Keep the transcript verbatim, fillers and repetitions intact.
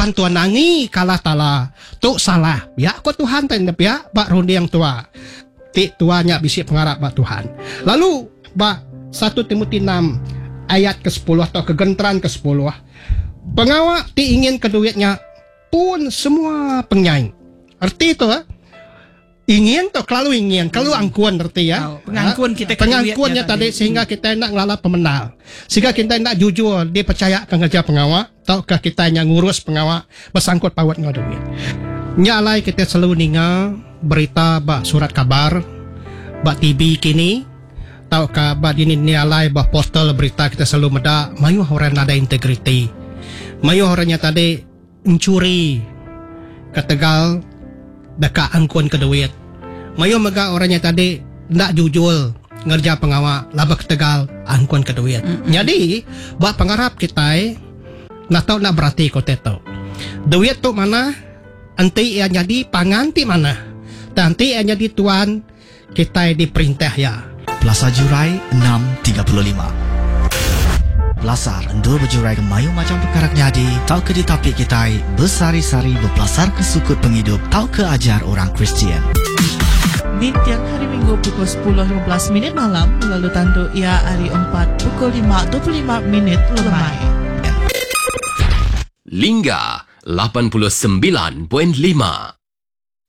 Laban tua nangi ke Allah Taala. Tu salah. Pia ko Tuhan tadi pia ba runding tua. Ti tua nya bisi pengarap ba Tuhan. Lalu ba satu Timoti enam ayat ke sepuluh atau ke genteran ke sepuluh, pengawa ti ingin ke duit nya pun semua penyai. Erti tu eh? Ingin tu kelalu ingin, kelalu angkun erti ya. Oh, pengangkun kita ke Pengangkunnya duitnya tadi, tadi. Sehingga kita nak ngelala pemendar. Sehingga kita nak jujur dipercaya ke ngerja pengawa atau ke kita yang ngurus pengawa bersangkut paut ngau duit. Nya alai kita selalu ninga berita ba surat kabar, ba T V kini, tau ka ba dini ni alai ba portal berita kita selalu meda mayuh orang nada integriti. Mayuh orangnya tadi mencuri ketegal deka angkun ke duit. Mayuh mega orangnya tadi ndak jujur ngerja pengawa laba ketegal angkun ke duit. Mm-hmm. Jadi ba pengarap kita nak tau nak berarti ko teto. Duit tu mana enti ia jadi pangan ti mana. Dan enti ia jadi tuan kita diperintah ya. Plaza Jurai enam tiga puluh lima. Pelasar endur berjurai ke mayu macam perkara nyadi tau ke ditapik kita bersari-sari berpelasar ke sukut penghidup tau ke ajar orang Kristian. Nitian hari Minggu pukul sepuluh lima belas minit malam lalu tandu ia hari empat pukul lima dua puluh lima minit lemai. Lingga lapan puluh sembilan point lima.